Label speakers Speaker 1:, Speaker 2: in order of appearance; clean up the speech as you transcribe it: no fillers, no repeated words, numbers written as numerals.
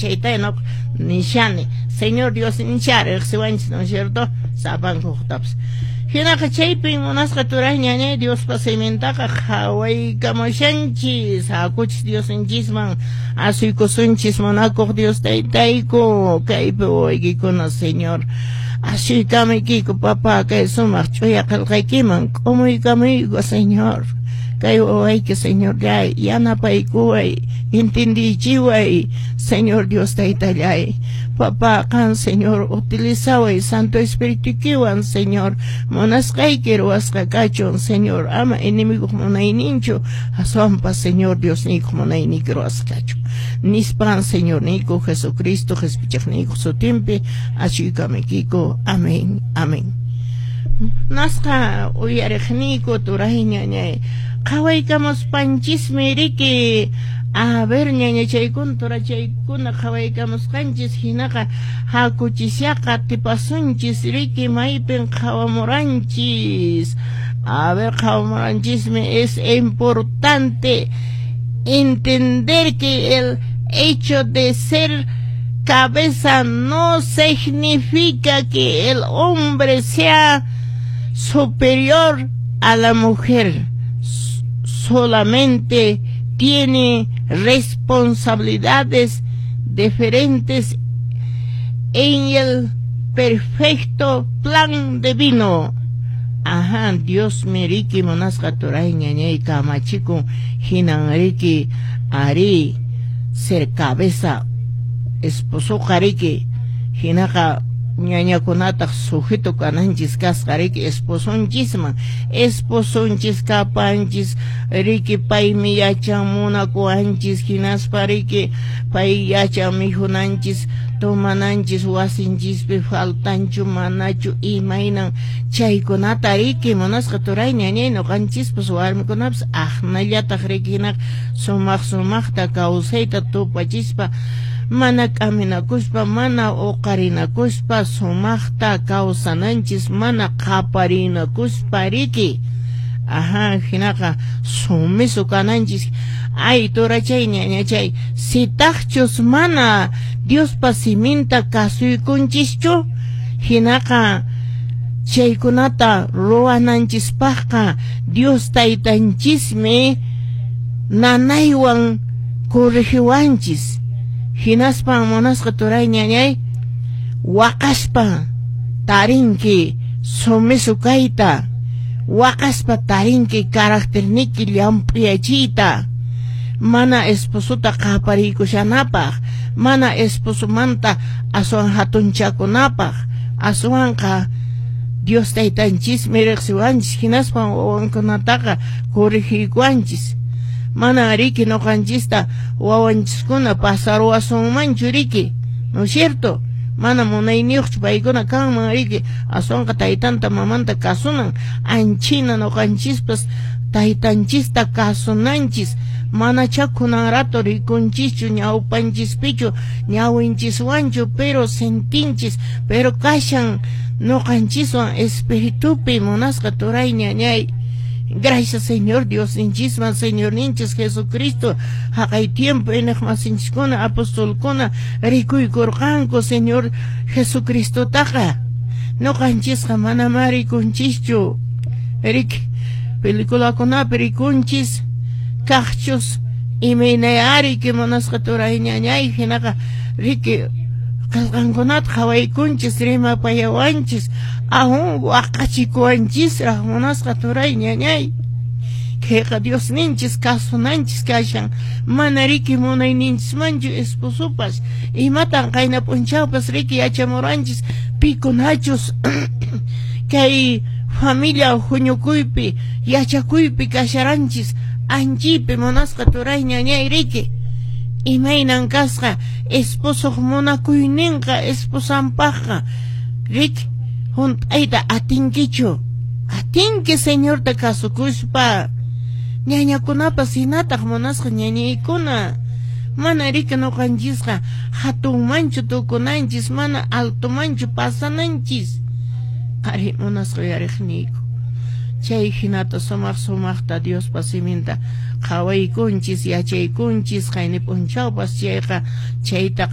Speaker 1: Chayta no nishani. Señor Dios ninchari riqsiwanchis, ¿no es cierto? Sapankuqtapas. Hinaqa chaypin munasqa turay ñañay Diospa simintaqa qhawaykamushanchis. Hakuchis Diosninchisman asuykusunchis munakuq Dios taytayku. Kaypi wawaykikuna, Señor. Asuykamuykiku, papá, kay sumaq ch'uya qillqaykiman k'umuykamuyku, Señor. Kay wawayki, Señorllay, yanapaykuway, entendichiway, Señor Dios taytallay. Papá, qan, Señor, utilizaway Santo Espiritukiwan, Señor. Munasqayki ruwasqa kachun, Señor. Ama enemiguq munayninchu, aswanpas, Señor Diosniykuq munayniyki ruwasqa kachun. Nispan, Señorniyku Jesucristo, qhispichiqniykuq sutinpi asuykamuykiku. Amén, amén. Nasqa uyariqniyku turay ñañay qhawaykamuspanchismi riki. A ver, ñañachaykuna, turachaykuna, qhawaykamusqanchis hinaqa hakuchisyaqa tipasunchis riki maypin qhawamuranchis. A ver, qhawamuranchismi. Es importante entender que el hecho de ser cabeza no significa que el hombre sea superior a la mujer. Solamente tiene responsabilidades diferentes en el perfecto plan divino. Ajá, Dios mi riki munasqa turay ñañay kamachikun hinan riki ari ser cabeza esposoqa riki hinaqa ñañakunataq sujeto kananchis kasqa riki esposonchisman, esposonchis kapanchis riki, paymi yachan munakuwanchis, hinaspa riki pay yachan mikhunanchis, tomananchis, wasinchispi faltanchu manachu, imaynan chaykunata riki munasqa turay ñañay. Ñuqanchispas warmikunapas aqnallataq riki hinaqa sumaq sumaqta kawsayta tupachispa, mana k'aminakuspa, mana uqarinakuspa sumaqta kawsananchis, mana qaparinakuspa riki. Ajá, hinaqa sumiso kananchis. Ay, turachay, ñañachay, sitaqchus mana Diospa siminta kasuykunchischu, hinaqa chaykunata ruwananchispaqqa Dios taytanchismi nanaywan corrigiwanchis. Hinaspan munasqa turay ñañay waqaspa tarinki sumiso kayta, waqaspa tarinki caracterniki llamp'uyachiyta, mana esposota qapariykushanapaq, mana esposomanta aswan hatunchakunapaq, aswanqa Dios taytanchismi riqsiwanchis, hinaspan wawankunataqa corrigiykuwanchis. Mana riki ñuqanchista wawanchiskuna pasaruwasunmanchu riki, ¿no es cierto? Mana munayniyuqchu paykuna kanman riki, aswanqa taytanta mamanta kasunan. Anchina ñuqanchispas taytanchista kasunanchis. Manachá kunan rato rikunchischu ñawpanchispichu, ñawinchiswanchu, pero sentinchis, pero kashan ñuqanchiswan espiritupi munasqa turay ñañay. Gracias, Señor Diosninchisman, Señorninchis Jesucristo, haqay tiempo iñiqmasinchiskuna apostolkuna rikuykurqanku Señor Jesucristotaqa. Ñuqanchisqa manamá rikunchischu riki, peliculakunapi rikunchis kaqchus imaynayari que munasqa turay ñañay. Hinaqa riki qillqankunata qhawaykunchis, rimapayawanchis, aún waqachikuwanchisraq munasqa turay ñañay. Kayqa Diosninchis kasunanchis kashan, mana riki munayninchismanchu esposopas. Imatan qayna p'unchawpas riki yachamuranchis pikunachus kay familia huñukuypi yachakuypi kasharanchis anchiypi munasqa turay ñañay riki imaynan kasqa esposoq munakuyninqa esposanpaqqa riki. Hunt'ayta atinkichu? Atinki Señorta kasukuspa. Ñañakunapas hinataq munasqa ñañaykuna, mana riki ñuqanchisqa hatunmanchu tukunanchis, mana altomanchu pasananchis. Qhari munasqa uyariqniyku, chay hinata sumaq sumaqta Diospa siminta qhawaykunchis, yachaykunchis qayni p'unchawpas chayqa chayta.